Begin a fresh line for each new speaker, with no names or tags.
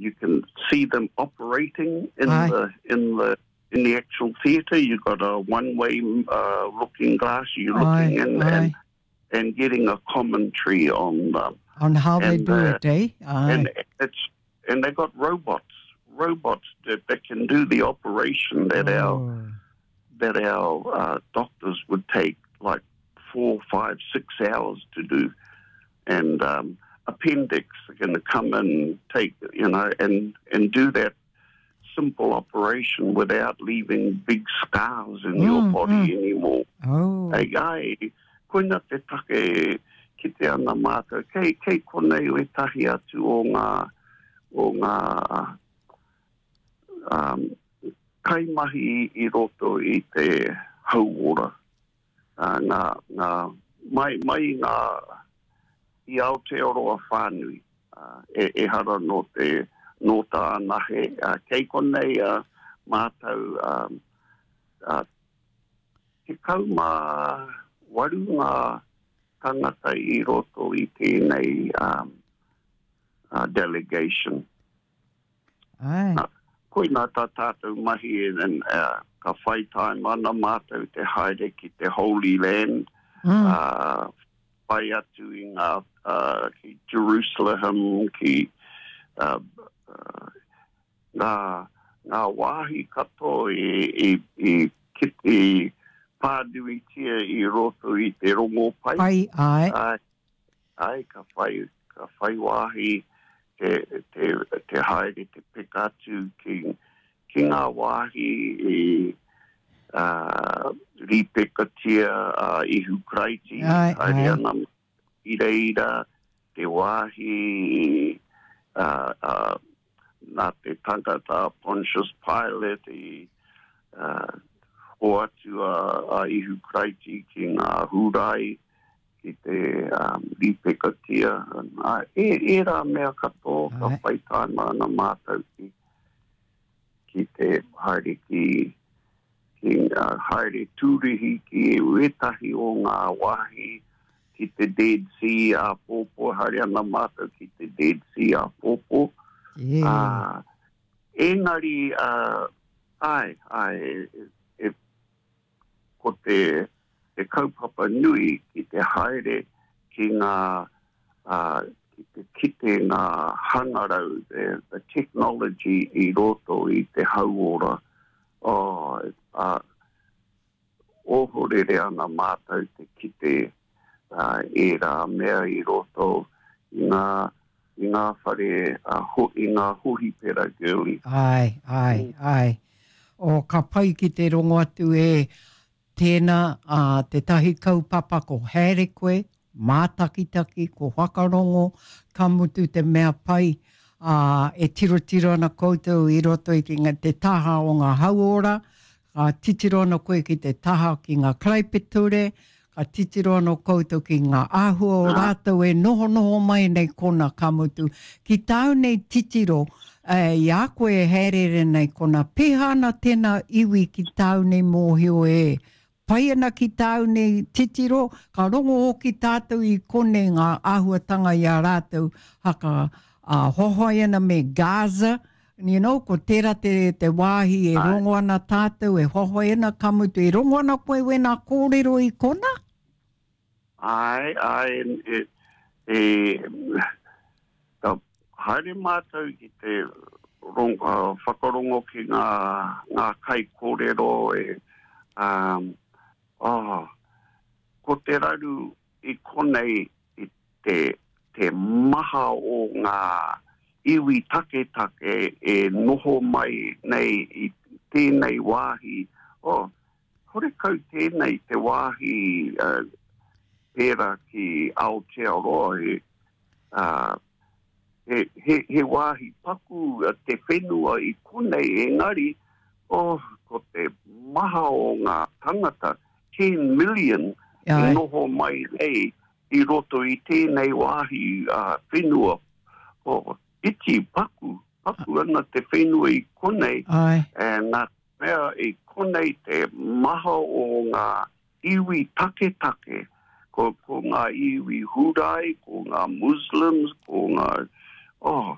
you can see them operating in Aye. the in the in the actual theatre. You've got a one-way uh, looking glass. You're looking aye, in aye. and and getting a commentary on them.
On how and, they do uh, it, eh? Aye.
And it's and they got robots, robots that, that can do the operation that oh. our that our uh, doctors would take like four, five, six hours to do, and um, appendix are going to come and take you know and and do that simple operation without leaving big scars in mm, your body mm. anymore.
Oh.
Hei, ai, koina te take kite ana mātou. Kei, kei konei wetahi atu o ngā, o ngā um, kaimahi i roto i te hauora. Uh, ngā, ngā, mai, mai ngā i Aotearoa whānui. Uh, e, ehara nō te nōta anahe. Uh, kei konei uh, mātou um, uh, 18 ngā tangata i roto i tēnei um, uh, delegation.
Ai.
Nā, koina tā tātou mahi and, uh, ka whai time ana mātou te haere ki te Holy Land, mm. uh, whai atu i ngā, uh, ki Jerusalem, ki uh, uh, ngā, ngā wāhi katoa i, i, i, ki, i pānuitia i roto i te rongopai.
Pai, ai.
Ai, ai ka whai, ka whai wāhi te, te, te haere te peka atu ki, ki ngā wāhi i uh, rīpekatia a Ihu Karaiti,
ai,
haere
ai.
ana i reira, te wāhi uh, uh, nā te tangata Pontius Pilate i uh, hoatu a, a Ihu Karaiti ki ngā Hūrai, ki te um, rīpekatia. Ā, e, ērā mea katoa ka whai tāima ana mātou ki, ki te haere ki, ki uh, haere tūrihi ki wētahi o ngā wāhi ki te Dead Sea āpōpō, haere ana mātou ki te Dead Sea āpōpō.
Yeah.
Uh, engari, uh, ai, ai, e, e, ko te, te kaupapa nui ki te haere ki ngā, uh, ki te kite ngā hangarau, the, the technology i roto i te hauora. Oh, uh, ohorere ana mātou te kite uh, ērā mea i roto i ngā, i ngā whare, uh, ho, i ngā hohipera girly.
Ai, ai, ai. O, ka pai ki te rongo atu e tēnā a tētahi kaupapa ko haere koe, mātakitaki, ko whakarongo, ka mutu te mea pai, ā, e tirotiro ana koutou i roto i te taha o ngā hauora, ka titiro ana koe ki te taha ki ngā karaipiture, ka titiro anō koutou ki ngā āhua o rātou e nohonoho mai nei kona, ka mutu, ki tāu nei titiro, e, i a koe e hāereere nei kona, pēhā ana tēnā iwi ki tāu nei mōhio e pai ana ki tāu nei titiro, ka rongo hoki tātou i konei ngā āhuatanga i a rātou haka ā, hoahoa ana me Gaza, you know, ko tērā te, te wāhi e rongo ana tātou, e hoahoa ana, ka mutu, e rongo ana koe wēnā kōrero i kona?
Āe, āe, e, e, ka haere mātou ki te rong, uh, whakarongo ki ngā, ngā kaikōrero e, um, oh, ko te raru i konei i te, te maha o ngā iwi taketake e noho mai nei i tēnei wāhi, oh, Horekau tēnei te wāhi uh, pērā ki Aotearoa, he, uh, he, he, he wāhi paku te whenua i konei, engari, oh, ko te maha o ngā tangata, 10 million, i noho mai nei i roto i tēnei wāhi uh, whenua. Oh, iti, paku, paku ana te whenua i konei,
Ai.
and nā Mea i konei te maha o ngā iwi taketake, ko, ko ngā iwi Hūrai, ko ngā Muslims, ko ngā, oh,